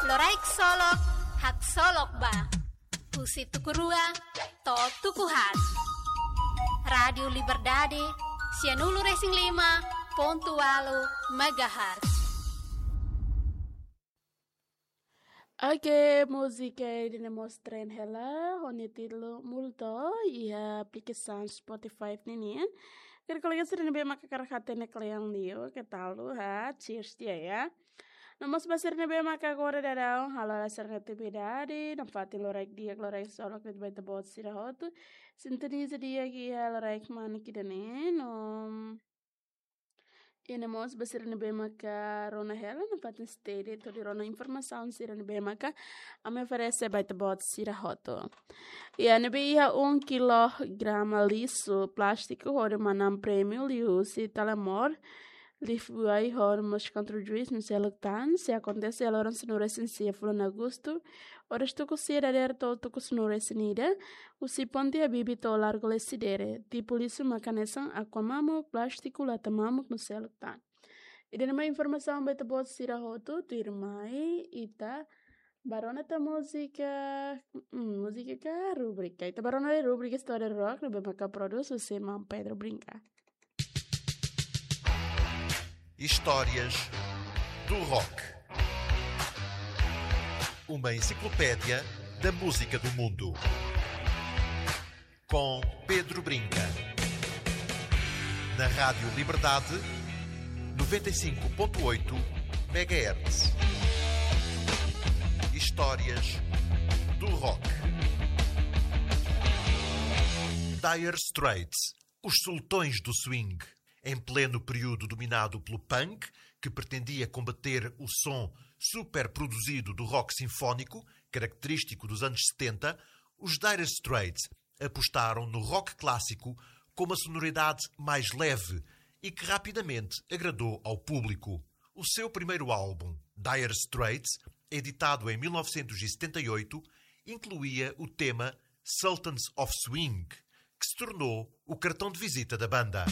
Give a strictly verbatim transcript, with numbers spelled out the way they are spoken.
Loraik Solok, haksolok ba. Husi tuku rua to'o tuku haat. Rádiu Liberdade, sianulu-resin-lima pontu ualu megahertz. Oke, múzika ida-ne'e mós tren hela, ho nia títulu Multo, iha aplikasaun Spotify ninian. Karik kolega sira ne'ebé maka hakarak hatene kle'an liu, keta haluha, cheers tiha ya. No mós ba sira ne'ebé maka agora daudaun halo sira-nia atividade, nafatin loraik di'ak, loraik solok de'it ba ita-boot sira hotu. Sintoniza di'ak iha loraik manik ida-ne'e, no iha ne'e mós ba sira ne'ebé maka rona hela, nafatin steady, hodi rona informasaun sira ne'ebé maka ami oferese ba ita-boot sira hotu. Iha ne'ebé iha um kilograma lixu plástiku hodi manán prémiu liuhusi Telemor, Lifebuoy ho mós Control Juice no seluk tan, sei akontese iha loron sanulu-resin-sia fulan Agostu, oras tuku sia dadeer to'o tuku sanulu-resin-ida, husi Ponte Habibie to'o Largo Lecidere, tipu lixu maka hanesan aqua mamuk, plástiku, lata mamuk no seluk tan. Ida-ne'e mak informasaun ba ita-boot sira hotu, tuirmai ita bá rona tan múzika, hmm, múzika ka rubrika. Ita bá rona rubrika História do Rock, ne'ebé maka produzidu husi maun Pedro Brinca. Histórias do Rock. Uma enciclopédia da música do mundo. Com Pedro Brinca. Na Rádio Liberdade, noventa e cinco ponto oito megahertz. Histórias do Rock. Dire Straits, os sultões do swing. Em pleno período dominado pelo punk, que pretendia combater o som super produzido do rock sinfónico, característico dos anos setenta, os Dire Straits apostaram no rock clássico com uma sonoridade mais leve e que rapidamente agradou ao público. O seu primeiro álbum, Dire Straits, editado em mil novecentos e setenta e oito, incluía o tema Sultans of Swing, que se tornou o cartão de visita da banda.